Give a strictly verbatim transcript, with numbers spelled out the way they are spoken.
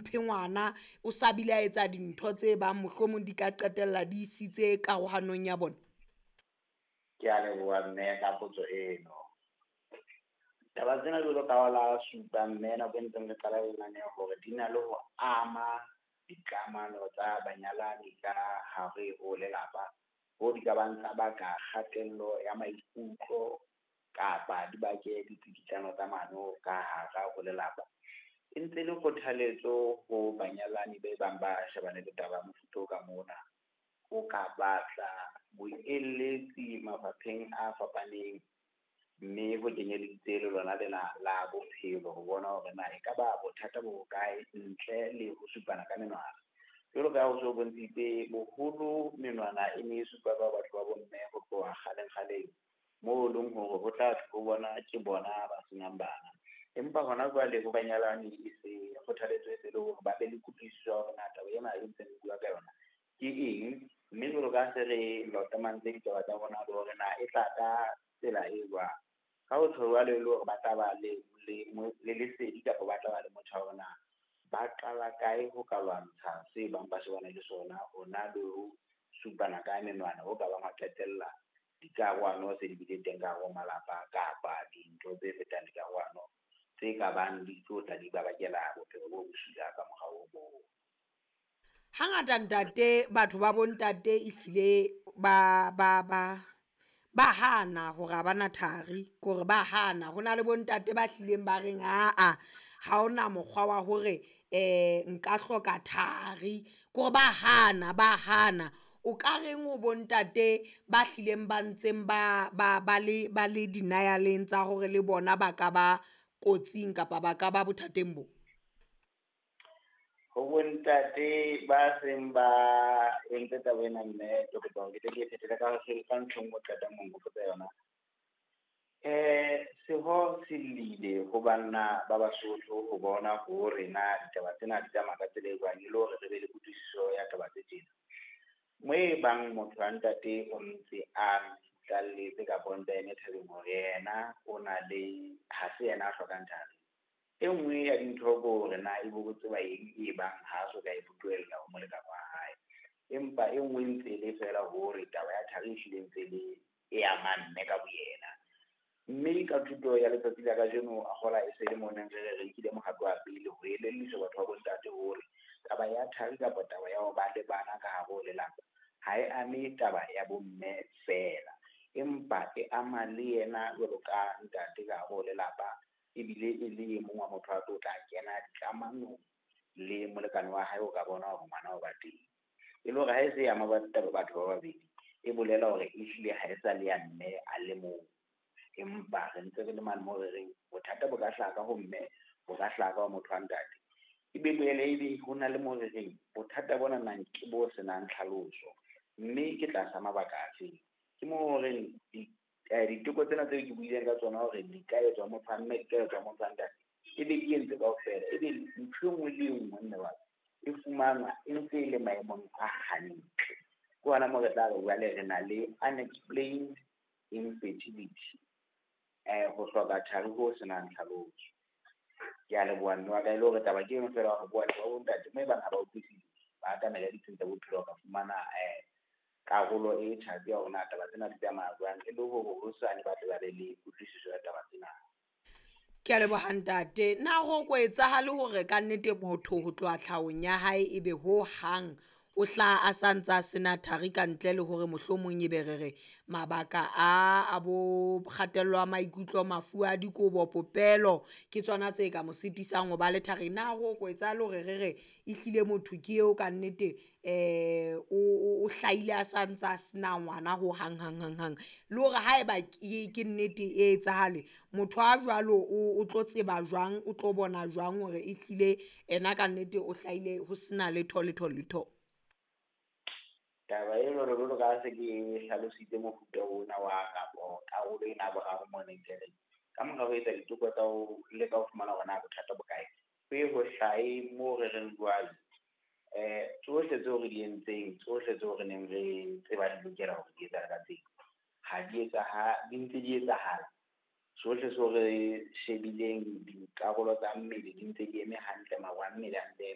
mphe ngwana, o sa bile a etsa dintho tse bang mohlomong di ka qetella di isitse karohanong ya bona? Ke a leboha mme ka potso eno. Taba tsena jwalo ka la supa mme nako e ntseng re qala lenaneo hore di na le ho ama dikamano tsa banyalani ka hare ho lelapa. Ho di ka bang tsa baka kgatello ya maikutlo kapa di bake ditsikitlano tsa mano ka hara ho lelapa. E ntse le kgothaletso ho banyalani be bang ba shebane le taba ya mofuta o ka mona. O ka batla boeletsi mafapheng a fapaneng, mme ho kenyeleditse le lona lena la bophelo ho bona hore na ekaba bothata bo hokae ntle le ho supana ka menwana. Jwalo ka ha ho so bontshitse boholo menwana e ne e supa ka batho ba bomme ho tloha kgaleng kgaleng, moo e leng hore ho tla thwe ho bona ke bona ba senang bana. Empa hona jwale ho banyalani e se kgothaletso e se le hore ba be le kutlwisiso ya hore na taba ena e ntseng re bua ka yona ke eng, mme jwalo ka se re lotomantse ditaba tsa rona le hore na e tla ka tsela e jwang. Ka ho tjho jwalo e le hore ba tla ba le le le lesedi kapa ba tla ba le motjha wa hore na ba qala kae ho ka lwantsha se bang ba shebane le sona, hona le ho supana ka menwana ho ka bang wa qetella dikarohano se di bile teng ka hare ho malapa kapa dintho tse fetang dikarohano tse ka bang di tlo tla di ba bakela bophelo bo bosula ka morao ho moo. Hangata ntate, batho ba bontate ehlile ba ba ba ba hana hore ha bana thari, kore ba hana. Ho na le bontate ba hlileng ba reng aa ha hona mokgwa wa hore um nka hloka thari, kore ba hana ba hana. O ka reng ho bontate ba hlileng ba ntseng ba ba ba le ba le denial-eng tsa hore le bona ba ka ba kotsing kapa ba ka ba bothateng bo? Ho bontate ba seng ba entse taba ena mme, ke kopa hore ke tle ke e phethele ka ka ntho e nngwe o qetang ho nkgopotsa yona. Eh seho se llile ho banna ba Basotho ho bona hore na ditaba tsena di tsamaya ka tsela e jwang, e le hore re be le kutlwisiso ya taba tse tjena. Mo e bang motho wa ntate o ntse a tlalletse kapa o ntse a eme thabeng hore yena o na le, ha se yena a hlokang thari. E nngwe ya dintho ke hore na ebe o tseba eng e bang ha so ka e futuhela ho molekane wa hae. Empa e nngwe e ntse e le feela hore taba ya thari ehlile ntse le e amang mme ka boyena. Mme ka thuto ya letsatsi la kajeno a kgola e se le moneng re re re nkile mohato wa pele ho elelliswa batho ba bontate hore taba ya thari kapa taba ya ho ba le bana ka hare ho lelapa ha e ame taba ya bomme feela, empa e ama le yena jwalo ka ntate ka hare ho lelapa, ebile e le e mong wa motho a tlo tla kena dikamanong le molekane wa hae o ka bona hore ngwana o ba teng. E le hore ha e se e ama batho ba babedi, e bolela hore ehlile ha e sa le ya mme a le mong. Empa re ntse re le mane moo re reng bothata bo ka hlaha ka ho mme, bo ka hlaha ka ho motho wa ntate. Ebe boele ebe ho na le moo re reng bothata bona nang ke bo senang tlhaloso, mme ke tlasa mabaka afe. Ke moo reng diteko tsena tseo ke buileng ka tsona hore di ka etswa motho wa mme, di ka etswa motho wa ntate, ebe di entswe kaofela. Ebe ntho e nngwe le e nngwe mme wa ka e fumanwa e ntse e le maemong a hantle. Ke hona moo re tla re jwale re na le unexplained infertility, eh ho hloka thari ho senang tlhaloso. Ke a leboha mme wa ka, e le hore taba ke eno feela ho bua le ba bontate mme bang ha ba utlwisisi, ba atamela ditsing tsa bophelo ka fumana eh karolo e tjhatsi ya hore na taba tsena di tsamaya jwang, e le hore hosane ba tle ba be le kutlwisiso ya taba tsena. Ke a leboha ntate. Na ho ko etsahale hore ka nnete motho ho tloha tlhahong ya hae ebe ho hang o hlaha a sa ntsa sena thari ka ntle le hore mohlomong ebe re re mabaka a a bo kgatello ya maikutlo, mafu a dikobo, popelo ke tsona tse ka mo sitisang ho ba le thari? Na ho ko etsahale hore re re ehlile motho ke eo ka nnete eh o o hlahile a sa ntsa sena ngwana ho hang hang hang hang, le hore haeba ke ke nnete e etsahale motho a jwalo o o tlo tseba jwang, o tlo bona jwang hore ehlile ena ka nnete o hlahile ho sena letho letho letho? Taba e jwalo jwalo ka se ke hlalositse mofuta ona wa kapo karolo ena ya boraro mona ke re ka mora ho etsa diteko tsa ho leka ho fumana hore na bothata bo kae, ho ye ho hlahe moo re reng jwale eh tsohle tseo re di entseng, tsohle tseo re neng re tseba di lokela hore di etsahale ka teng, ha di etsaha, di ntse di etsahala. Sohle seo re shebileng dikarolo tsa mmele di ntse di eme hantle, maro a mmele a ntse eme